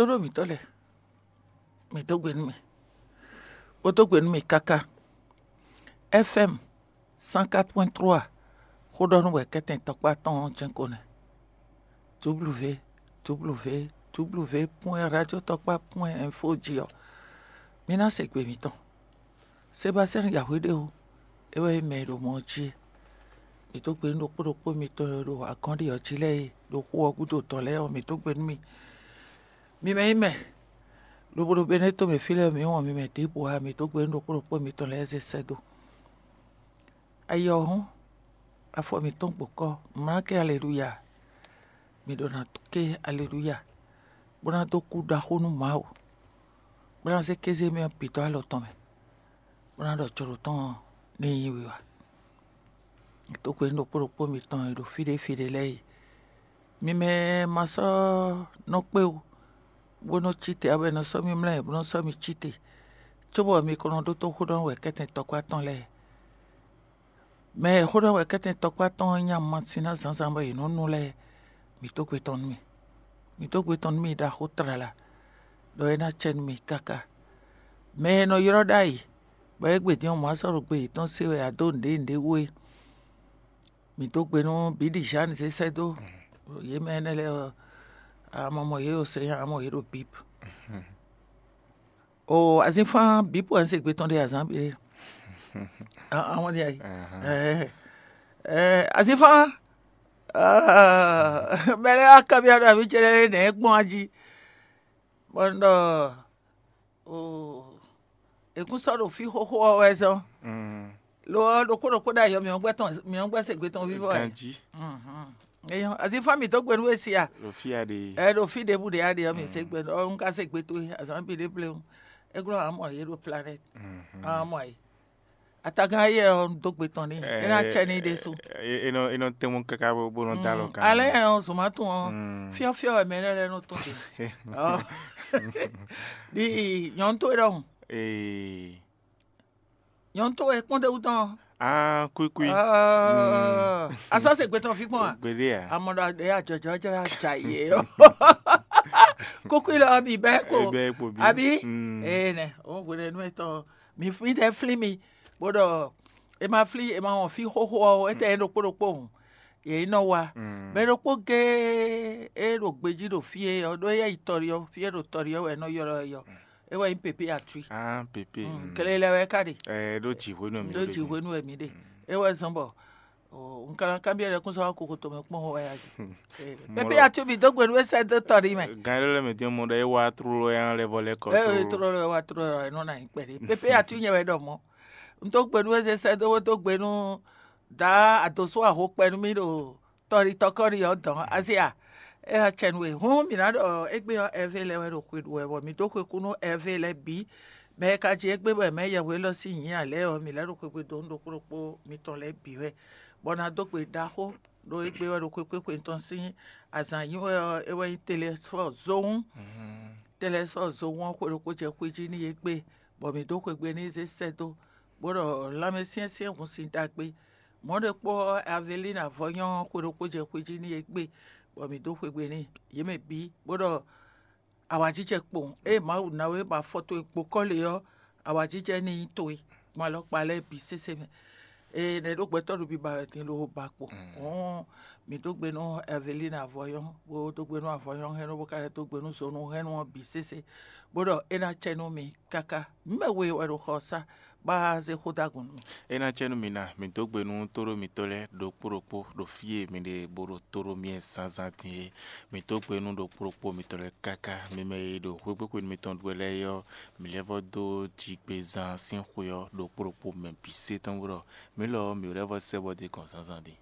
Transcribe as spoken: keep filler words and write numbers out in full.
Tóɖó mǐtɔn lɛ́ɛ, mǐ dó gbe nú mì, bó dó gbe nú mì káká. F M cent quatre point trois, xó ɖɔ nú wɛ kɛ́tɛn tɔkpá tɔn ɔ́ jɛ́n ko nɛ́. W W W point radio tɔkpá point info jí ɔ́, mi ná se gbe mǐtɔn. Sebasɛ́n yǎhwe ɖé o, é wɛ nyí mɛ e ɖo mɔ ɔ́ jí é. Mǐ dó gbe nú ɖokpó ɖokpó mitɔn e ɖo agɔ́nɖi ɔ́ jí lɛ́ɛ e ɖo xó ɔ́ gúdo dɔ̌n lɛ́ɛ ɔ́, mǐ dó gbe nú mi. Mi mɛ nyí mɛ, lobo ɖo Benɛ́to mɛ fí lɛ́ɛ mǐ wɔn mi mɛ ɖěbǔ ǎ, mǐ dó gbe nú ɖokpó ɖokpó mitɔn lɛ́ɛ zé sɛ́ dó. Ayi ɔ́ hɔ́n, afɔ mǐtɔn gbǒkɔ́, mlǎ kɛ aleluya, mǐ ɖo ná ké aleluya, bó ná dó kú ɖaxó nú Mawu, bó ná zé kéze mɛ ɔ́ bǐ dó alɔ tɔn mɛ, bó ná ɖɔ jǒɖo tɔn ní nyí wiwa. Dó gbe nú ɖokpó ɖokpó mitɔn e ɖo fí ɖé fí ɖé lɛ́ɛ e, mi mɛ ma sɔ́ nɔ kpé wú, bó nɔ cí te, ǎ bɔ è nɔ sɔ́ mì mlɛ́, bó nɔ sɔ́ mì cí te, cóbɔ mi ko nɔ ɖótó xó ɖɔ wɛ kɛ́tɛn tɔkpá tɔn lɛ́ɛ. Mɛ e xó ɖɔ wɛ kɛ́tɛn tɔkpá tɔn ɔ́ nya masin ná zǎnzǎn bɔ yě nɔ́ nu lɛ́ɛ, mǐ dó gbe tɔn nú mì. Mǐ dó gbe tɔn nú mì ɖaxó tlala, ɖɔ é ná acɛ nú mì káká. Mɛ e nɔ ylɔ́ ɖ'ayǐ, bɔ égbé din ɔ́ mɔ̌ á sɔ́ ɖo gbe yětɔn se wɛ ǎ dó nǔɖé nǔɖé wú é, mǐ dó gbe nú Bǐɖižáni zé sɛ́ dó. Yě mɛ énɛ́ lɛ́ɛ ɔ́, a ma mɔ yě ɖo sɛn nya, a mɔ yě ɖo bǐb. O azínfán bǐ pɔ se gbe tɔn ɖe azǎn bǐ ɖe. Àwọn ɖe ayi. Ɛɛ, ɛɛ, azínfán, mɛ lɛ́ɛ wá kanbyɔ́ ɖɔ mǐ cɛ lɛ́ɛ nɛ̌ gbɔn ají, bɔ un ɖɔ o, è kún sɔ́ ɖo fí xóxó ɔ́ wɛ zɔ́n. Lo ɔ́, ɖokpó ɖokpó ɖo ayɔ mǐ ɔ́ gbɛ tɔn, mǐ ɔ́ gbɛ se gbe tɔn vívɔ wɛ. Ganjí. Azínfán mǐ dó gbe nú we sia. Ɖo fí a ɖe. Ɛ ɖo fí ɖěbǔ ɖě aɖe ɔ́, mǐ se gbe ɔ́, un ka se gbe towe azǎn bǐ ɖé bléwún. É glɔ́ amɔ yě ɖo planète. Amɔ yě. Atagán ayé ɔ́, un dó gbe tɔn n'i. É ná cɛ n'i ɖésú. É nɔ é nɔ tɛ́nmɔ káká bó bó nɔ dó alɔ kan. Alɛ ɔ́, zomátun ɔ́, fiɔ́fiɔ́ wɛ mɛ lɛ́ɛ lɛ́ɛ nɔ tɔn te. Ɔ́. Ɖi nyɔ̌nu towe ɖɔhun. Ee. Nyɔ̌nu towe kpɔ́n ɖe wú tɔn. Ah, kwíkwí. Asɔ́ se gbe tɔn fí kpɔn a? Gbeɖé a? Amɔ ɖɔ ɖe ajɔjɔ jɛ la ja yě ɔ́. Kúkú lɔ mi bɛ kpo. Bɛ kpo bí. Abi. Ee nɛ, o hwenu nú etɔn mi fli ɖe fli mi, bó ɖɔ e ma fli e ma wɔn fí xóxó ɔ́, etɛ e ɖokpó ɖokpó hùn. Yě nɔ wa. Mɛ ɖokpó géé e ɖo gbejí ɖo fí e ɔ́, ɖó éyɛ́ yi tɔɖi ɔ́, fí e ɖo tɔɖi ɔ́ wɛ e nɔ ylɔ́ ɛ yɔ. É wɛ nyí pépé atwi. Ah, pépé. Kele lɛ wɛ ka ɖe. Ɛ ɖó jǐ hwenu mi ɖó jǐ hwenu wɛ mi ɖe. É wɛ zɔn bɔ un ka ná kanbyɔ́ ɖɛkúnzɔ́ wá kokoto mɛ kpɔ́n wɛ ya jì. Pépé atwi mi dó gbe nú é sɛ́ dó tɔɖi mɛ. Gan ɖé lɛ́ɛ mɛ dín mɔ ɖɔ é wá tlóló é lɛ́ vɔ lɛ́ kɔ. É tlóló é wá tlóló é nɔ ná nyí kpɛɖé. Pépé atwi nyɛ wɛ ɖɔ mɔ̌. Un dó gbe nú é zé sɛ́ dó dó gbe nú dǎ adǒsó aho kpɛ nú mì ɖo tɔɖitɔ́kɔ́ɖi ɔ́ dɔn Azia. É ná cɛ nú we. Hǔn mǐ ná ɖɔ égbé ɔ́, Ɛvée lɛ́ɛ wɛ ɖo xwe ɖu wɛ, bɔ mǐ dó xwe kú nú Ɛvée lɛ́ɛ bǐ. Mɛ e ka jí égbé bɔ è mɛ yɛhwe élɔ́ sín nyǐ ǎ lɛ́ɛ ɔ́, mǐ lɛ́ ɖo xwegbe dó nú ɖokpó ɖokpó mitɔn lɛ́ɛ bǐ wɛ, bɔ ná dó gbe ɖaxó ɖó égbé wɛ ɖo xwekpéxwe tɔn sín azǎn nyi wɛ ɔ́, é wɛ nyí Telɛsfɔ́ɔ zówún. Telɛsfɔ́ɔ zówún ɔ́, xwe ɖokpó jɛ xwé jí n'i égbé, bɔ mǐ dó xwegbe n'i zé sɛ́ dó, bó ɖɔ lanmɛsyɛ́nsyɛ́n hun sin ɖagbe. Mɔ̌ ɖokpó ɔ́, Avelín avɔnyɔ́ ɔ́, xwe ɖokpó jɛ xwé jí n'i égbé, bɔ mǐ dó xwegbe n'i, yě mɛ bǐ, bó ɖɔ awǎjijɛ kpowun. Ée Mawu ná we bɔ afɔ towe kpo kɔ́ lě ɔ́, awǎjijɛ ní nyí towe gbɔn alɔkpa lɛ́ɛ bǐ sésé mɛ. Ee, nɛ̌ ɖó gbɛtɔ́ ɖo biba wɛ din lo ba kpo. Hɔn mǐ dó gbe nú Ɛvelín avɔyɔ́n, bó dó gbe nú avɔyɔ́n hɛn nú bó ka lɛ́ dó gbe nú zonu hɛn nú ɔ́ bǐ sésé, bó ɖɔ é ná cɛ nú mi káká. Mǐ mɛ we wɛ ɖo xɔ ɔ́ sá, bá zé xó dó agun nú mì. É ná cɛ nú mi ná, mǐ dó gbe nú tóɖó mitɔ́ lɛ́ɛ ɖokpó ɖokpó ɖo fí e mi ɖe bó ɖo tóɖó mì wɛ zǎnzǎn din é. Mǐ dó gbe nú ɖokpó ɖokpó mitɔ́ lɛ́ɛ káká. Mi mɛ e ɖo xwégbéxwenu mitɔn ɖu wɛ lɛ́ɛ é ɔ́, mǐ lɛ́ vɔ́ dó jigbezán sín xwe ɔ́ ɖokpó ɖokpó mɛ bǐ sé tɔn bó ɖɔ mǐ lɔ ɔ́, mǐ lɛ́ vɔ́ sɛ́ bɔ dó gɔn zǎnzǎn din.